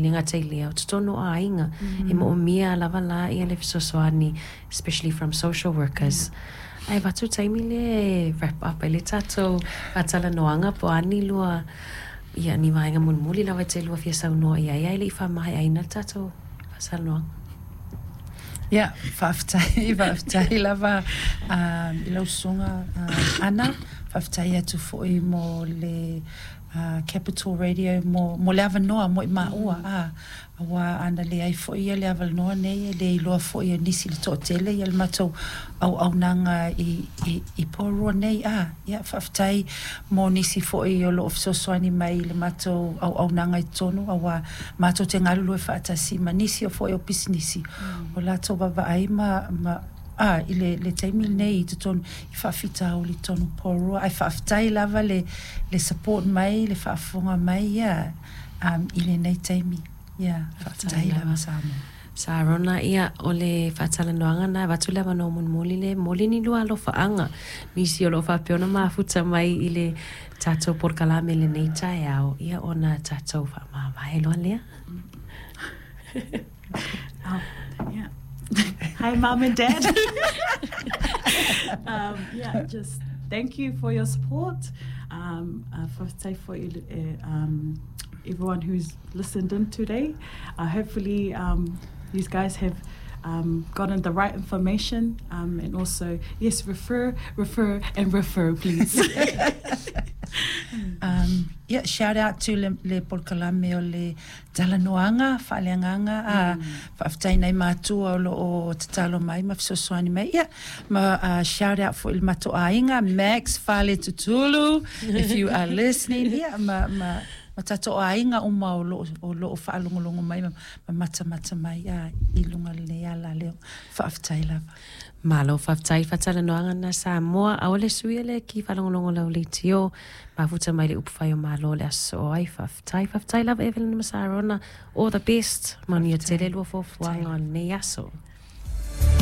Le gata i lea, o totonu o aiga, e moomia lava la le fesoasoani, especially from social workers. Ae avatu le taimi lea e wrap up ai le tatou faatalanoaga po o a ni lua, ia, ni vaega mulimuli lava e te lua fia saunoa i ai ae le i faamaeaina le tatou faatalanoaga. Ia, faafetai, faafetai lava i lau susuga Ana, faafetai atu foi mo le Capital Radio mo, mo le avanoa mo i maua, a, aua ana leai foi ia le avanoa nei e le iloa foi e nisi le toatele ia le matou auaunaga i, i, i Porirua nei, a, ia faafetai mo nisi foi o lo o fesoasoani mai i le matou auaunaga i totonu, aua matou te galulue faatasi ma nisi o foi o pisinisi o latou vaavaai ma, ma, a, i le, le taimi lenei i totonu i faafitauli i totonu o Porirua, ae faafetai lava le, le support mai, le faafofoga mai, ia, um, i lenei taimi. Ia, faafetai lava Samoa. Sarona, ia, o le faatalanoaga na, avatu le avanoa mulimuli le momoli ni lua alofaaga, nisi o lo o faapea ona mafuta mai i le tatou polokalame i lenei taeao, ia ona tatou faamavae loa lea. Oh, yeah. Hi, Mom and Dad. Yeah, just thank you for your support. Faafetai foi everyone who's listened in today. Hopefully, these guys have gotten the right information and also, yes, refer, refer, and refer, please. Yeah, shout out to le, le polokalame o le Talanoaga faaleagaga a faafetai nai matua o lo o tatalo mai ma fesoasoani mai ia ma shout out foi i le matou aiga Max Faletutulu if you are listening ia ma ma ma tatou aiga uma o lo o lo o faalogologo mai ma matamata mai a i luga o lenei ala leo faafetai lava. Malo faafetai faatalanoaga na Samoa aole sui le ki faalogologo lau leitio mafuta mai le upufai o Malo le aso soo ai faafetai faafetai lava Evelyn ma Sarona all the best manuia tele lua fuafuaga o lenei aso.